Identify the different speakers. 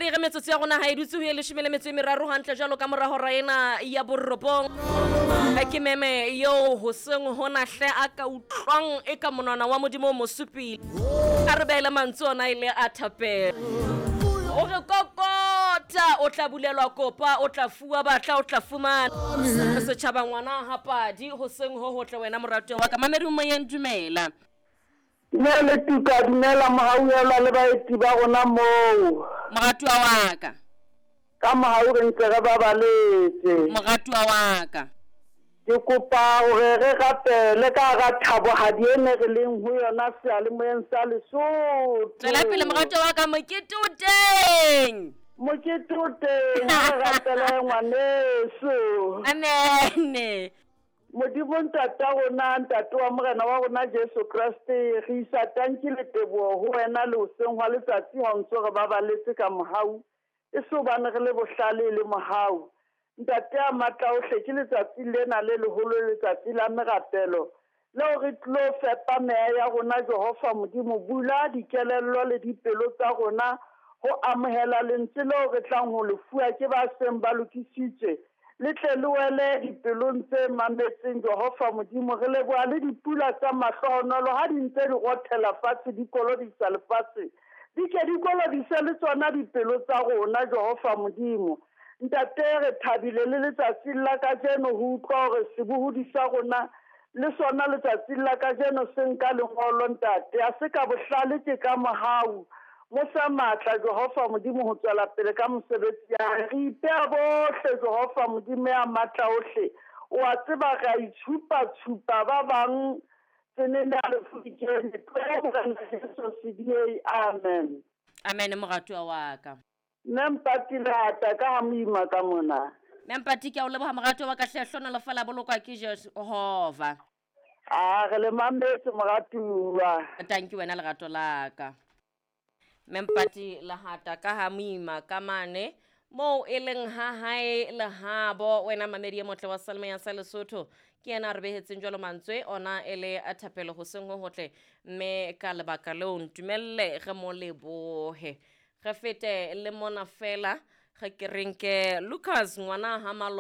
Speaker 1: Mamedi ge metsotso ya rona ha e dutse ho ye leshome le metso e meraro hantle jwalo ka mora hora ena ya borobong. Ke meme eo hoseng hona hle a ka utlwang e ka monwana wa Modimo o mo supile. A re beele mantswe ona e le a thapelo. O re kokota o tla bulelwa kopa o tla fuwa batla o tla fumana. Setjhaba ngwana ha padi hoseng ho hotle wena moratuwa wa ka. Mamedi o moyeng dumela.
Speaker 2: Dumela Tuka, dumela Mohauhelwa le baeti ba rona moo.
Speaker 1: Moratuwa wa ka.
Speaker 2: Ka mohau re ntse re babaletse.
Speaker 1: Moratuwa wa ka.
Speaker 2: Ke kopa hore re rapele ka hara thabohadi e ne re leng ho yona seyalemoyeng sa Lesotho.
Speaker 1: Tswela pele moratuwa wa ka, mokete o teng.
Speaker 2: Mokete o teng, ha re rapele ngwaneso.
Speaker 1: Amen.
Speaker 2: Modimo Ntata rona, Ntate wa Morena wa rona Jesu Kreste, re isa tanki le teboho ho wena le hoseng hwa letsatsi ha o ntso re babaletse ka mohau, e se hobane re le bohlale e le mohau. Ntate ya matla ohle, ke letsatsi lena le leholo, letsatsi la merapelo, leo re tlilo fepa meya ya rona. Jehova Modimo, bula dikelello le dipelo tsa rona ho amohela lentswe leo re tlang ho le fuwa ke ba seng ba lokisitswe, le tle le wele dipelong tse mametseng. Jehova Modimo, re leboha le dipula tsa mahlohonolo ha di ntse di rothela fatshe, di kolobisa lefatshe, di ke di kolobise le tsona dipelo tsa rona. Jehova Modimo Ntate, re thabile le letsatsing la kajeno ho utlwa hore sebohodi sa rona le sona letsatsing la kajeno se nka lengolo. Ntate, ha se ka bohlale, ke ka mohau. Mo fe matla, Jehova Modimo, ho tswela pele ka mosebetsi ya hae. Re ipeha bohle, Jehova Modimo ya matla ohle, o a tseba re a itshupa-tshupa ba bang tsenene ya lefu di kene. Tloho Morena Jesu sediyei. Amen.
Speaker 1: Amen moratuwa wa ka.
Speaker 2: Mme Mpati lata ka ha moima ka mona.
Speaker 1: Mme Mpati ke a o leboha moratuwa wa ka hle, hlonolofala bolokwa ke Jehova.
Speaker 2: A re le mametse moratuwa.
Speaker 1: Tanki wena lerato la ka. Mme Mpati Lehata ka ha moima ka mane moo e leng ha hae lehabo wena mamedi e motle wa Salme sa Lesotho ke yena a re behetseng jwalo mantswe ona e le a thapelo hoseng ho hotle mme ka lebaka leo ntumelle re mo lebohe re fete le mona fela ge ke reng ke Lucas ngwana ha malo.